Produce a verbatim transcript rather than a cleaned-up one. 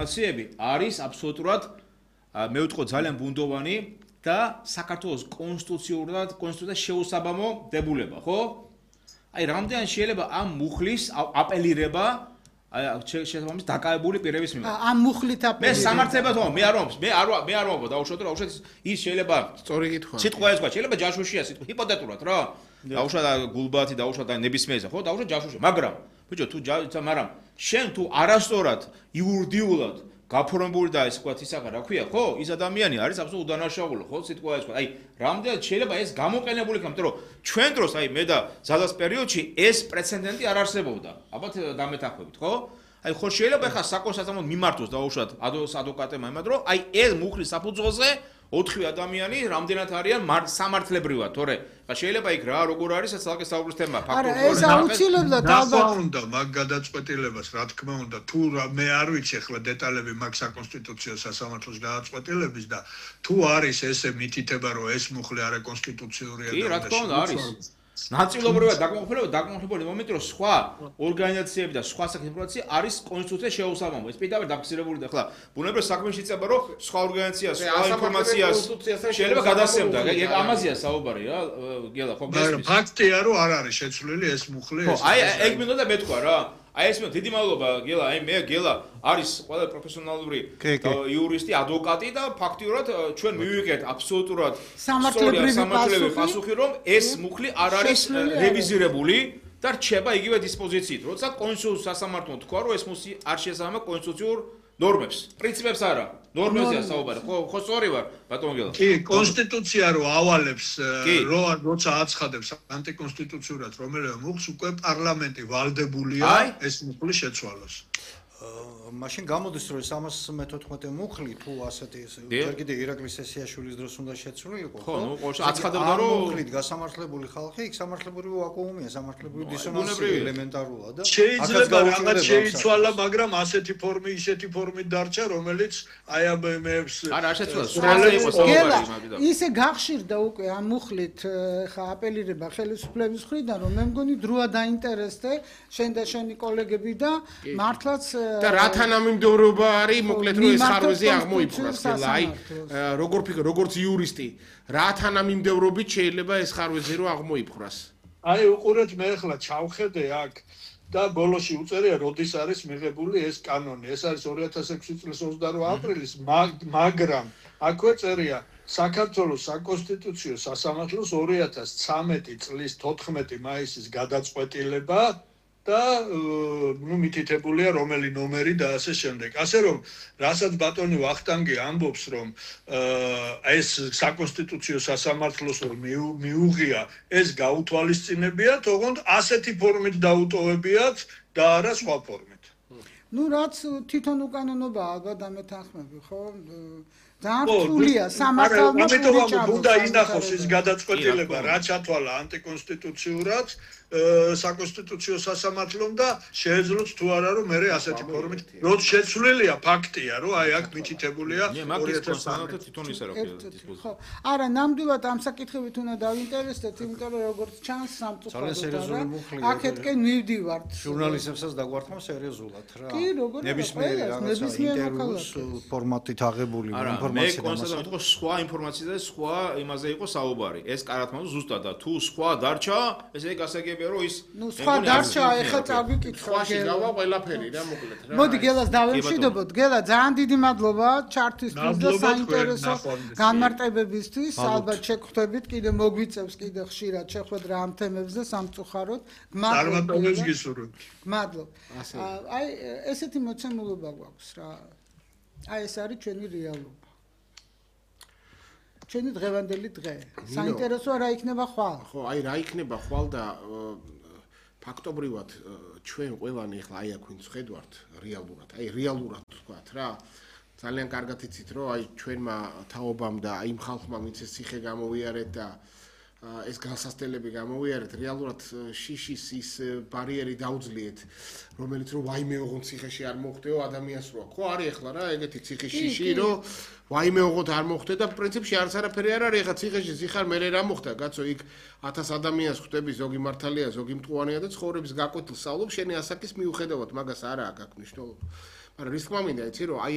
ინფორმაციები არის აბსოლუტურად მე ვიტყო ძალიან ბუნდოვანი და საქართველოს კონსტიტუციურად კონსტიტუციას შეუსაბამო დებულება, ხო? აი რამდენი შეიძლება ამ მუხლის აპელირება აი შესაბამის დაკავებული პირების მიმართ. ამ მუხლით აპელირება. მე სამართლებად ვამბობ, მე არ ვამბობ, მე არ მე არ ვამბობ დაუშვათ, რა უშოთ ის შეიძლება სწორი კითხვა. სიტყვა ეს თქვა, შეიძლება ჯაშუშია სიტყვა, ჰიპოთეტურად რა. დაუშვათ გულბათი, დაუშვათ ნებისმიერზე, ხო? დაუშვათ ჯაშუშია, მაგრამ ბიჭო თუ მაგრამ შენ თუ არასწორად იურიდიულად გაფორმებული და ეს თქვა ისაღა რა ქვია, ხო? ის ადამიანი არის აბსოლუტურად უდანაშაულო, ხო? სიტყვა ეს თქვა. აი, რამდენად შეიძლება ეს გამოყენებული იქნება, იმიტომ რომ ჩვენ დროს, აი მე და ზადას პერიოდში ეს პრეცედენტი არ არსებობდა. ალბათ დამეთანხმებით, ხო? აი, ხო შეიძლება ხა საკონსტიტუციო მიმართოს დაუშვათ ადვოკატებმა იმად, რომ აი ეს მუხლის საფუძველზე ოთხი ადამიანი რამდენად არიან სამართლებრივად, თორე ხა შეიძლება იქ რა როგორ არის ეს ძალკე საუბრის თემა ფაქტობრივად. არა, ეს აუცილებლად ალბათ უნდა მაგ გადაწყვეტილებას, რა თქმა უნდა, თუ მე არ ვიცი ახლა დეტალები მაგ საკონსტიტუციო სასამართლოს გადაწყვეტილების და თუ არის ესე მითითება, რომ ეს მუხლი არა კონსტიტუციურია და კი, რა თქმა უნდა არის. ნაწილობრივად დაკმაყოფილება დაკმაყოფილებული მომენტი რომ სხვა ორგანიზაციები და სხვა საქმე არის კონსტიტუცია შეუსაბამო. ეს პირდაპირ დაფიქსირებული და ახლა ბუნებრივად საქმეში იწება რომ სხვა ორგანიზაციას, სხვა ინფორმაციას შეიძლება გადასცემდა. ამაზეა საუბარი რა, გელა ხო გესმის. ფაქტია რომ არ არის შეცვლილი ეს მუხლი ეს. აი ეგ მინდოდა და მეთქვა რა. აი ეს მე დიდი მადლობა გელა, აი მე გელა არის ყველა პროფესიონალური იურისტი, ადვოკატი და ფაქტიურად ჩვენ მივიღეთ აბსოლუტურად სამართლებრივი პასუხი, რომ ეს მუხლი არ არის რევიზირებული და რჩება იგივე დისპოზიციით. როცა კონსტიტუციის სასამართლომ თქვა, რომ ეს მუხლი არ შეესაბამება კონსტიტუციურ ნორმებს, პრინციპებს არა. ნორმებზეა საუბარი. ხო, ხო სწორი ვარ, ბატონო გელა. კი, კონსტიტუცია რო ავალებს, რო როცა აცხადებს ანტიკონსტიტუციურად რომელიმე მუხლს, უკვე პარლამენტი ვალდებულია ეს მუხლი შეცვალოს. მაშინ გამოდის რომ სამას მეთოთხმეტე მუხლი თუ ასეთი ჯერ კიდე ირაკლის სესიაშვილის დროს უნდა შეცვლილიყო. ხო, ნუ აცხადებდა რომ მუხლით გასამართლებული ხალხი, იქ სამართლებრივი ვაკუუმია, სამართლებრივი დისონანსი ელემენტარულად და შეიძლება რაღაც შეიცვალა, მაგრამ ასეთი ფორმი, ისეთი ფორმით დარჩა, რომელიც აი ამ მეებს არა შეცვალა, სრულად იყო საუბარი მაგიდან. ისე გახშირდა უკვე ამ მუხლით ხა აპელირება ხელისუფლების მხრიდან, რომ მე მგონი დროა დაინტერესდე შენ და შენი კოლეგები და მართლაც და რა თანამიმდევრობა არის მოკლედ რომ ეს ხარვეზე აღმოიფხვრას ხელა აი როგორ ფიქრობ როგორც იურისტი რა თანამიმდევრობით შეიძლება ეს ხარვეზე რომ აღმოიფხვრას აი უყურეთ მე ახლა ჩავხედე აქ და ბოლოში უწერია როდის არის მიღებული ეს კანონი ეს არის ორი ათას ექვსი წლის ოცდაორი აპრილის მაგრამ აქვე წერია საქართველოს საკონსტიტუციო სასამართლოს ორი ათას ცამეტი წლის თოთხმეტი მაისის გადაწყვეტილება და ნუ მითითებულია რომელი ნომერი და ასე შემდეგ. ასე რომ რასაც ბატონი ვახტანგი ამბობს რომ ეს საკონსტიტუციო სასამართლოს რომ მიუღია ეს გაუთვალისწინებიათ, ოღონდ ასეთი ფორმით დაუტოვებიათ და არა სხვა ფორმით. ნუ რაც თვითონ უკანონობა ალბათ დამეთანხმები, ხო? ძალიან რთულია სამართალმა უნდა ინახოს ის გადაწყვეტილება რა ჩათვალა ანტიკონსტიტუციურად საკონსტიტუციო სასამართლომ და შეეძლოთ თუ არა რომ მე ასეთი ფორმით როც შეცვლილია ფაქტია რომ აი აქ მითითებულია ორი ათას თვითონ ისე რა ხო არა ნამდვილად ამ საკითხებით უნდა დავინტერესდეთ იმიტომ რომ როგორც ჩანს სამწუხაროდ აქეთკენ მივდივართ ჟურნალისტებსაც დაგვართმა სერიოზულად რა კი როგორ ნებისმიერი რაღაცა ინტერვიუს ფორმატით აღებული ინფორმაცია მე კონსტატირებდი რომ სხვა ინფორმაციაზე სხვა იმაზე იყო საუბარი ეს კარათმალ ზუსტად და თუ სხვა დარჩა ესე იგი გასაგებია რომ ის ნუ სხვა დარჩა ეხლა წავიკითხო სხვაში გავა ყველაფერი რა მოკლედ რა მოდი გელას დავემშვიდობოთ გელა ძალიან დიდი მადლობა ჩართვისთვის და საინტერესო განმარტებებისთვის ალბათ შეგხვდებით კიდე მოგვიწევს კიდე ხშირად შეხვედრა ამ თემებზე სამწუხაროდ მადლობა გისურვებთ მადლობა აი ესეთი მოცემულობა გვაქვს რა აი ეს არის ჩვენი რეალობა ჩვენი დღევანდელი დღე. საინტერესოა რა იქნება ხვალ. ხო, აი რა იქნება ხვალ და ფაქტობრივად ჩვენ ყველანი ახლა აი აქ ვინც ხედავთ რეალურად, აი რეალურად თქვათ რა. ძალიან კარგად იცით რომ აი ჩვენმა თაობამ და აი იმ ხალხმა ვინც ეს ციხე გამოვიარეთ და ეს განსასწრებელი გამოვიარეთ რეალურად შიშის ის ბარიერი დაუძლიეთ რომელიც რომ ვაიმე ოღონდ ციხეში არ მოხდეო ადამიანს რო ხო არის ახლა რა ეგეთი ციხის შიში რომ ვაიმე ოღონდ არ მოხდე და პრინციპში არც არაფერი არ არის ახლა ციხეში ზიხარ მე რა მოხდა კაცო იქ ათას ადამიანს ხვდები ზოგი მართალია ზოგი მტყუანია და ცხოვრების გაკვეთილ სწავლობ შენი ასაკის მიუხედავად მაგას არა აქვს მნიშვნელობა მაგრამ რის თქმა მინდა იცი რომ აი